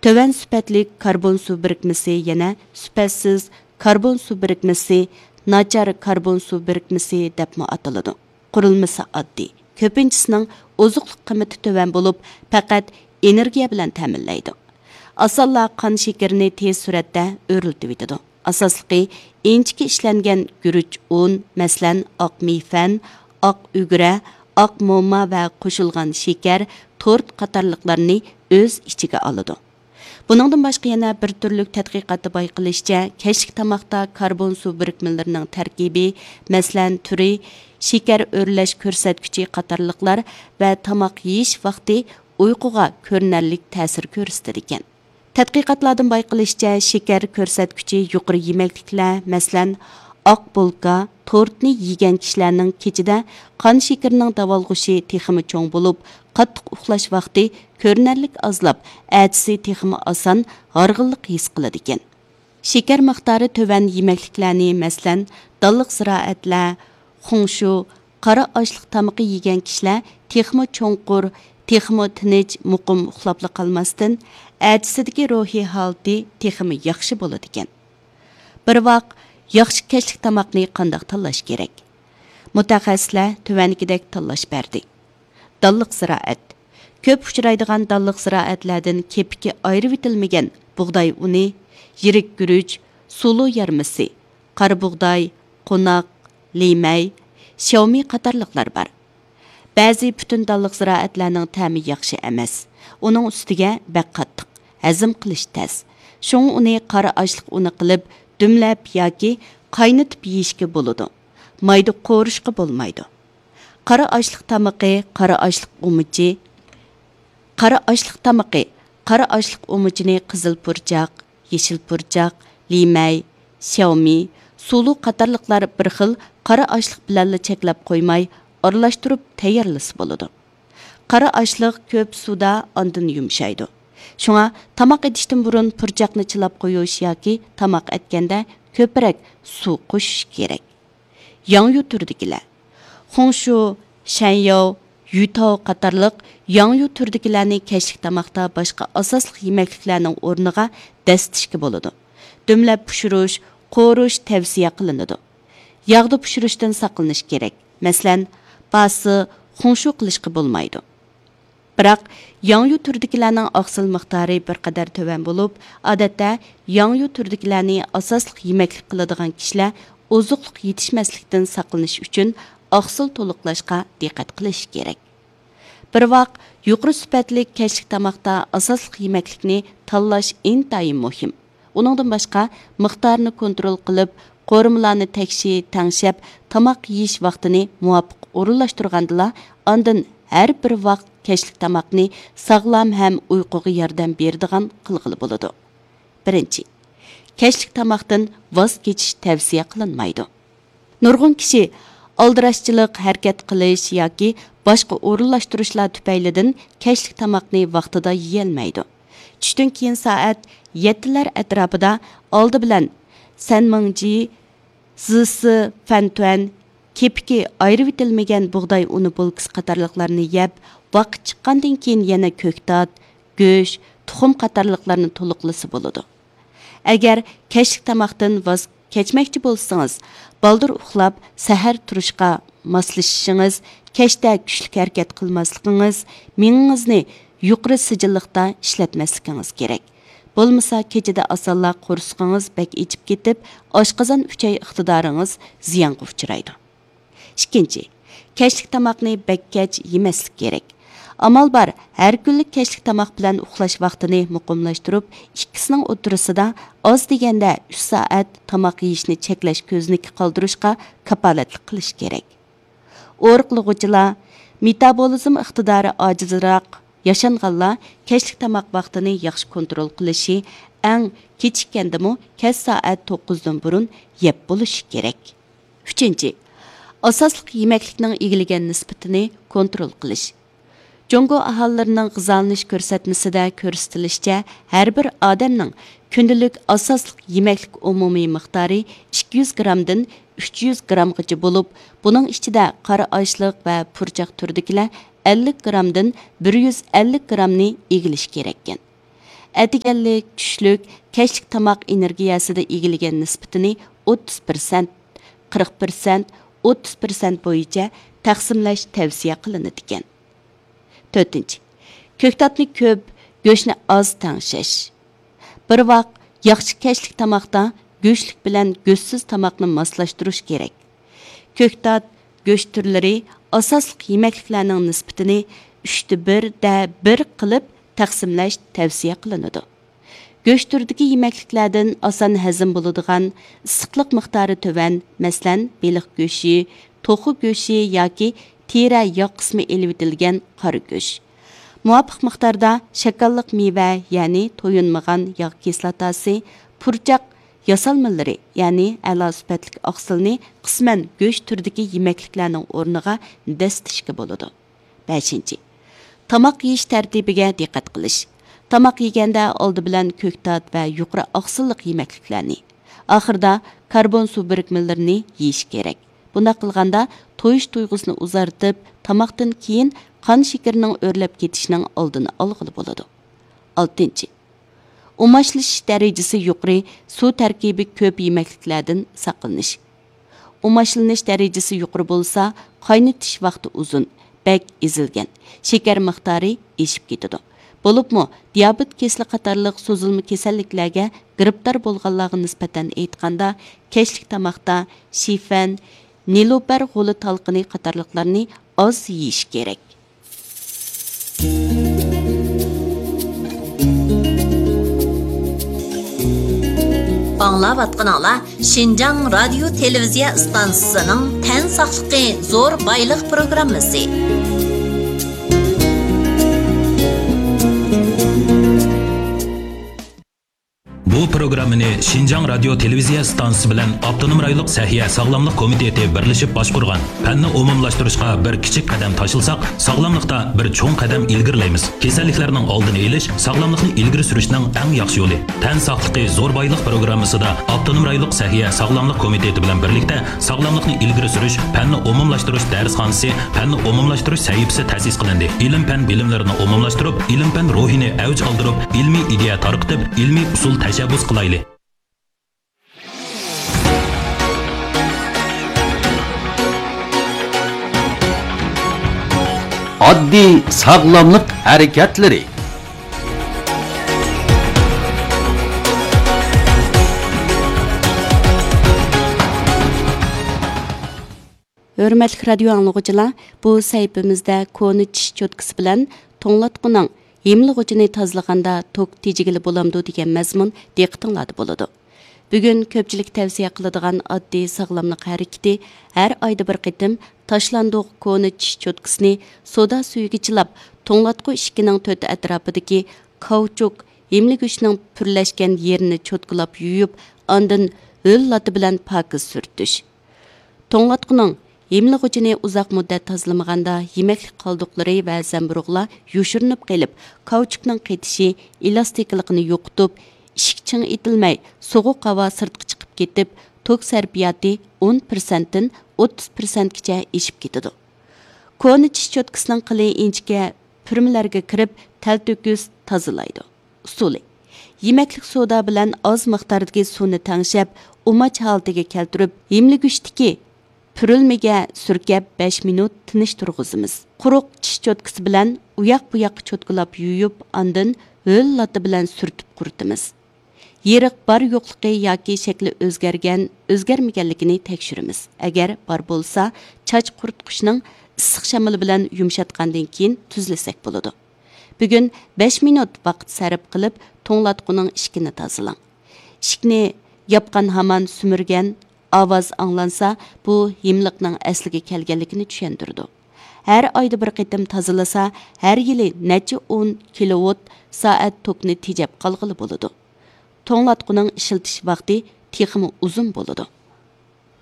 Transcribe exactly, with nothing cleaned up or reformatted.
تۆۋەن سۈپەتلىك كاربون سۇ بىرىكمىسى يەنە سۈپەتسىز كاربون سۇ بىرىكمىسى، ناچار كاربون سۇ بىرىكمىسى دەپمۇ ئاتىلىدۇ. قۇرۇلمىسى ئاددىي، كۆپىنچىسىنىڭ ئوزۇقلۇق قىممىتى تۆۋەن بولۇپ، پەقەت ئېنېرگىيە بىلەن تەمىنلەيدۇ. ئاسانلا قان شېكىرىنى تېز سۈرئەتتە ئۆرلىتىۋېتىدۇ. ئاساسلىقى، ئىنچىكە ئىشلەنگەن گۈرۈچ ئۇن، مەسىلەن، ئاق مېيفەن، ئاق ئۈگرە، ئاق موما ۋە قوشۇلغان شېكەر، تورت قاتارلىقلارنى ئۆز ئىچىگە ئالىدۇ. بۇنىڭدىن باشقا يەنە بىر تۈرلۈك تەتقىقاتتا بايقىلىشىچە، كەچلىك تاماقتا كاربون سۇ بىرىكمىلىرىنىڭ تەركىبى، مەسىلەن، تۈرى، شېكەر ئۆرلەش كۆرسەتكۈچى قاتارلىقلار ۋە تاماق يېيىش ۋاقتى ئۇيقۇغا كۆرۈنەرلىك تەسىر كۆرسىتىدىكەن. تەتقىقاتلاردىن بايقىلىشىچە، شېكەر كۆرسەتكۈچى يۇقىرى يېمەكلىكلەر، مەسىلەن، ئاق بولكا، تورتنى يېگەن كىشىلەرنىڭ كېچىدە قان شېكىرىنىڭ داۋالغۇشى تېخىمۇ چوڭ بولۇپ، قاتتىق ئۇخلاش ۋاقتى كۆرۈنەرلىك ئازلاپ، ئەتىسى تېخىمۇ ئاسان ھارغىنلىق ھېس قىلىدىكەن. شېكەر مىقدارى تۆۋەن يېمەكلىكلەرنى، مەسىلەن، دانلىق زىرائەتلەر، خۇڭشۇ، قارا ئاشلىق تامىقى يېگەن كىشىلەر تېخىمۇ چوڭقۇر، تېخىمۇ تىنچ، مۇقىم ئۇخلاپلا قالماستىن، ئەتىسىدىكى روھىي ھالىتى تېخىمۇ ياخشى بولىدىكەن. بىر ۋاق ياخشى كەچلىك تاماقنى قانداق تاللاش كېرەك؟ مۇتەخەسسىسلەر تۆۋەندىكىدەك تاللاش بەردى. دانلىق زىرائەت. كۆپ ئۇچرايدىغان دانلىق زىرائەتلەردىن كېپىكى ئايرىۋېتىلمىگەن بۇغداي ئۇنى، يىرىك گۈرۈچ، سۇلۇ يارمىسى، قارا بۇغداي، قوناق، لىمەي، شياۋمىي قاتارلىقلار بار. بەزى پۈتۈن دانلىق زىرائەتلەرنىڭ تەمى ياخشى ئەمەس. ئۇنىڭ ئۈستىگە بەك قاتتىق، ھەزىم قىلىش تەس. شۇڭا ئۇنى قارا ئاشلىق ئۇنى قىلىپ، دۈملەپ ياكى قاينىتىپ يېيىشكە بولىدۇ. مايدا قورۇشقا بولمايدۇ. قارا ئاشلىق تامىقى، قارا ئاشلىق ئۇمىچى، قارا ئاشلىق تامىقى، قارا ئاشلىق ئۇمىچىنى قىزىل پۇرچاق، يېشىل پۇرچاق، لىمەي، شياۋمىي، سۇلۇ قاتارلىقلار بىر خىل قارا ئاشلىق بىلەنلا چەكلەپ قويماي، ئارىلاشتۇرۇپ تەييارلىسا بولىدۇ. قارا ئاشلىق كۆپ سۇدا ئاندىن يۇمشايدۇ. شۇڭا تاماق ئېتىشتىن بۇرۇن پۇرچاقنى چىلاپ قويۇش ياكى تاماق ئەتكەندە كۆپرەك سۇ قوشۇش كېرەك. ياڭيۇ تۈرىدىكىلەر. خۇڭشۇ، شەنياۋ، يۈتاۋ قاتارلىق ياڭيۇ تۈرىدىكىلەرنى كەچلىك تاماقتا باشقا ئاساسلىق يېمەكلىكلەرنىڭ ئورنىغا دەسسىتىشكە بولىدۇ. دۈملەپ پىشۇرۇش، قورۇش تەۋسىيە قىلىنىدۇ. ياغدا پىشۇرۇشتىن ساقلىنىش كېرەك. مەسىلەن، باسى، خۇڭشۇ قىلىشقا بولمايدۇ. بىراق، ياڭيۇ تۈرىدىكىلەرنىڭ ئاقسىل مىقدارى بىر قەدەر تۆۋەن بولۇپ، ئادەتتە ياڭيۇ تۈرىدىكىلەرنى ئاساسلىق يېمەكلىك قىلىدىغان كىشىلەر ئوزۇقلۇق يېتىشمەسلىكتىن ساقلىنىش ئۈچۈن ئاقسىل تولۇقلاشقا دىققەت قىلىشى كېرەك. بىر ۋاق، يۇقىرى سۈپەتلىك كەچلىك تاماقتا ئاساسلىق يېمەكلىكنى تاللاش ئىنتايىن مۇھىم. ئۇنىڭدىن باشقا، مىقدارنى كونترول قىلىپ، قورۇمىلارنى تەكشى تەڭشەپ، تاماق يېيىش ۋاقتىنى مۇۋاپىق ئورۇنلاشتۇرغاندىلا، ئاندىن ھەر بىر ۋاق كەچلىك تاماقنى ساغلام ھەم ئۇيقۇغا ياردەم بېرىدىغان قىلغىلى بولىدۇ. بىرىنچى، كەچلىك تاماقتىن ۋاز كېچىش تەۋسىيە قىلىنمايدۇ. نۇرغۇن كىشى ئالدىراشچىلىق، ھەرىكەت قىلىش ياكى باشقا ئورۇنلاشتۇرۇشلار تۈپەيلىدىن كەچلىك تاماقنى ۋاقتىدا يېيەلمەيدۇ. چۈشتىن كېيىن سائەت يەتتىلەر ئەتراپىدا ئالدى بىلەن سەنمىڭجى، زىسى فەنتۈەن، كېپىكى ئايرىۋېتىلمىگەن بۇغداي ئۇنى بولكىسى قاتارلىقلارنى يەپ، ۋاقىت چىققاندىن كېيىن يەنە كۆكتات، گۆش، تۇخۇم قاتارلىقلارنى تولۇقلىسا بولىدۇ. ئەگەر كەچلىك تاماقتىن ۋاز كەچمەكچى بولسىڭىز، بالدۇر ئۇخلاپ، سەھەر تۇرۇشقا ماسلىشىشىڭىز، كەچتە كۈچلۈك ھەرىكەت قىلماسلىقىڭىز، مېڭىڭىزنى يۇقىرى سىجىللىقتا ئىشلەتمەسلىكىڭىز كېرەك. بولمىسا، كېچىدە ئاسانلا قورسىقىڭىز بەك ئېچىپ كېتىپ، ئاشقازان ئۈچەي ئىقتىدارىڭىز زىيانغا ئۇچرايدۇ. ئىككىنچى، كەچلىك تاماقنى بەك كەچ يېمەسلىك كېرەك. ئامال بار، ھەر كۈنلۈك كەچلىك تاماق بىلەن ئۇخلاش ۋاقتىنى مۇقىملاشتۇرۇپ، ئىككىسىنىڭ ئوتتۇرىسىدا ئاز دېگەندە ئۈچ سائەت تاماق يېيىشنى چەكلەش كۆزنىكى قالدۇرۇشقا كاپالەتلىك قىلىش كېرەك. ئورۇقلىغۇچىلار، مېتابولىزم ئىقتىدارى ئاجىزراق ياشانغانلار كەچلىك تاماق ۋاقتىنى ياخشى كونترول قىلىشى، ئەڭ كېچىككەندىمۇ كەچ سائەت توققۇزدىن بۇرۇن يەپ بولۇشى كېرەك. ئۈچىنچى، ئاساسلىق يېمەكلىكنىڭ ئىگىلىگەن نىسبىتىنى كونترول قىلىش. جۇڭگو ئاھالىلىرىنىڭ غىزالىنىش كۆرسەتمىسىدە كۆرسىتىلىشىچە، ھەر بىر ئادەمنىڭ كۈندىلىك ئاساسلىق يېمەكلىك ئومۇمىي مىقدارى ئىككى يۈز گرامدىن ئۈچ يۈز گرامغىچە بولۇپ، بۇنىڭ ئىچىدە قارا ئاشلىق ۋە پۇرچاق تۈرىدىكىلەر ئەللىك گرامدىن بىر يۈز ئەللىك گرامنى ئىگىلىشى كېرەككەن. ئەتىگەنلىك، چۈشلۈك، كەچلىك تاماق ئېنېرگىيەسىدە ئىگىلىگەن نىسبىتىنى ئوتتۇز پىرسەنت، قىرىق پىرسەنت، ئوتتۇز پىرسەنت بويىچە تەقسىملەش تەۋسىيە قىلىنىدىكەن. تۆتىنچى، كۆكتاتنى كۆپ، گۆشنى ئاز تەڭشەش. بىر ۋاق ياخشى كەچلىك تاماقتا گۆشلۈك بىلەن گۆشسىز تاماقنى ماسلاشتۇرۇش كېرەك. كۆكتات، گۆش تۈرلىرى ئاساسلىق يېمەكلىكلەرنىڭ نىسبىتىنى ئۈچتە بىردە بىر قىلىپ تەقسىملەش تەۋسىيە قىلىنىدۇ. گۆش تۈرىدىكى يېمەكلىكلەردىن ئاسان ھەزىم بولىدىغان، ئىسسىقلىق مىقدارى تۆۋەن، مەسىلەن، بېلىق گۆشى، توخۇ گۆشى ياكى تېرە ياغ قىسمى ئېلىۋېتىلگەن قارا گۆش. مۇۋاپىق مىقداردا شاكاللىق مېۋە، يەنى تويۇنمىغان ياغ كىسلاتاسى، پۇرچاق ياسالمىلىرى، يەنى ئەلا سۈپەتلىك ئاقسىلنى قىسمەن گۆش تۈرىدىكى يېمەكلىكلەرنىڭ ئورنىغا دەسسىتىشكە بولىدۇ. بەشىنچى، تاماق يېيىش تەرتىپىگە دىققەت قىلىش. تاماق يېگەندە ئالدى بىلەن كۆكتات ۋە يۇقىرى ئاقسىللىق يېمەكلىكلەرنى، ئاخىرىدا كاربون سۇ بىرىكمىلىرىنى يېيىش كېرەك. بۇنداق قىلغاندا تويۇش تۇيغۇسىنى ئۇزارتىپ، تاماقتىن كېيىن قان شېكىرىنىڭ ئۆرلەپ كېتىشىنىڭ ئالدىنى ئالغىلى بولىدۇ. ئالتىنچى، ئۇماچلىشىش دەرىجىسى يۇقىرى، سۇ تەركىبى كۆپ يېمەكلىكلەردىن ساقلىنىش. ئۇماچلىنىش دەرىجىسى يۇقىرى بولسا، قاينىتىش ۋاقتى ئۇزۇن، بەك ئېزىلگەن، شېكەر مىقدارى ئېشىپ كېتىدۇ. بولۇپمۇ دىيابېت كېسىلى قاتارلىق سوزۇلما كېسەللىكلەرگە گىرىپتار بولغانلارغا نىسبەتەن ئېيتقاندا، كەچلىك تاماقتا شىفەن، نېلۇپەر غولى تالقىنى قاتارلىقلارنى ئاز يېيىش كېرەك. ئاڭلاۋاتقىنىڭلار شىنجاڭ رادىيو تېلېۋىزىيە ئىستانسىسىنىڭ تەن ساقلىقى زور بايلىق پروگراممىسى. بۇ پروگراممىنى شىنجاڭ رادىيو تېلېۋىزىيە ئىستانسىسى بىلەن ئاپتونوم رايونلۇق سەھىيە ساغلاملىق كومىتېتى بىرلىشىپ باشقۇرغان. پەننى ئومۇملاشتۇرۇشقا بىر كىچىك قەدەم تاشلىساق، ساغلاملىقتا بىر چوڭ قەدەم ئىلگىرىلەيمىز. كېسەللىكلەرنىڭ ئالدىنى ئېلىش، ساغلاملىقنى ئىلگىرى سۈرۈشنىڭ ئەڭ ياخشى يولى. تەن ساقلىقى زور بايلىق پروگراممىسىدا ئاپتونوم رايونلۇق سەھىيە ساغلاملىق كومىتېتى بىلەن بىرلىكتە ساغلاملىقنى ئىلگىرى سۈرۈش، پەننى ئومۇملاشتۇرۇش دەرسخانىسى، پەننى ئومۇملاشتۇرۇش سەھىپىسى تەسىس قىلىندى. ئىلىم-پەن بىلىملىرىنى ئومۇملاشتۇرۇپ، ئىلىم-پەن روھىنى ئەۋج ئالدۇرۇپ، ئىلمىي ئىدىيە تارقىتىپ، ئىلمىي ئۇسۇل تەشەببۇس قىلايلى. ئاددىي ساغلاملىق ھەرىكەتلىرى. ھۆرمەتلىك رادىيو ئاڭلىغۇچىلار، بۇ سەھىپىمىزدە كونا چىش چوتكىسى بىلەن توڭلاتقۇنىڭ ھىملىغۇچىنى تازىلىغاندا توك تېجىگىلى بولامدۇ دېگەن مەزمۇن دىققىتىڭلاردا بولىدۇ. بۈگۈن كۆپچىلىك تەۋسىيە قىلىدىغان ئاددىي ساغلاملىق ھەرىكىتى، ھەر ئايدا بىر قېتىم تاشلاندۇق كونا چىش چوتكىسىنى سودا سۈيىگە چىلاپ، توڭلاتقۇ ئىشىكىنىڭ تۆت ئەتراپىدىكى كاۋچۇك، ھىملىگۈچنىڭ پۈرلەشكەن يېرىنى چوتكىلاپ يۇيۇپ، ئاندىن ھۆل لاتا بىلەن پاكىز سۈرتۈش. توڭلاتقۇنىڭ ھىملىغۇچىنى ئۇزاق مۇددەت تازىلىمىغاندا، يېمەكلىك قالدۇقلىرى ۋە زەمبۇرۇغلار يوشۇرۇنۇپ قېلىپ، كاۋچۇكنىڭ قېتىشى، ئېلاستىكىلىقىنى يوقىتىپ، ئىشىك چىڭ ئېتىلمەي، سوغۇق ھاۋا سىرتقا چىقىپ كېتىپ، توك سەرپىياتى ئون پىرسەنتتىن ئوتتۇز پىرسەنتكىچە ئېشىپ كېتىدۇ. كونا چىش چوتكىسىنىڭ قىلى ئىنچىكە پۈرمىلەرگە كىرىپ، تەلتۆكۈس تازىلايدۇ. ئۇسۇلى: يېمەكلىك سودا بىلەن ئاز مىقداردىكى سۇنى تەڭشەپ، ئۇماچ ھالىتىگە كەلتۈرۈپ، ھىملىگۈچتىكى پۈرۈلمىگە سۈركەپ، بەش مىنۇت تىنچ تۇرغۇزىمىز. قۇرۇق چىش چوتكىسى بىلەن ئۇياق-بۇياققا چوتكىلاپ يۇيۇپ، ئاندىن ھۆل لاتا بىلەن سۈرتۈپ قۇرۇتىمىز. يېرىق بار-يوقلۇقى ياكى شەكلى ئۆزگەرگەن، ئۆزگەرمىگەنلىكىنى تەكشۈرىمىز. ئەگەر بار بولسا، چاچ قۇرۇتقۇچنىڭ ئىسسىق شامىلى بىلەن يۇمشاتقاندىن كېيىن تۈزلىسەك بولىدۇ. بۈگۈن بەش مىنۇت ۋاقىت سەرپ قىلىپ، توڭلاتقۇنىڭ ئىشىكىنى تازىلاڭ. ئىشىكنى ياپقان ھامان سۈمۈرگەن ئاۋاز ئاڭلانسا، بۇ ھىملىقنىڭ ئەسلىگە كەلگەنلىكىنى چۈشەندۈرىدۇ. ھەر ئايدا بىر قېتىم تازىلىسا، ھەر يىلى نەچچە ئون كىلوۋات سائەت توكنى تېجەپ قالغىلى بولىدۇ. توڭلاتقۇنىڭ ئىشلىتىش ۋاقتى تېخىمۇ ئۇزۇن بولىدۇ.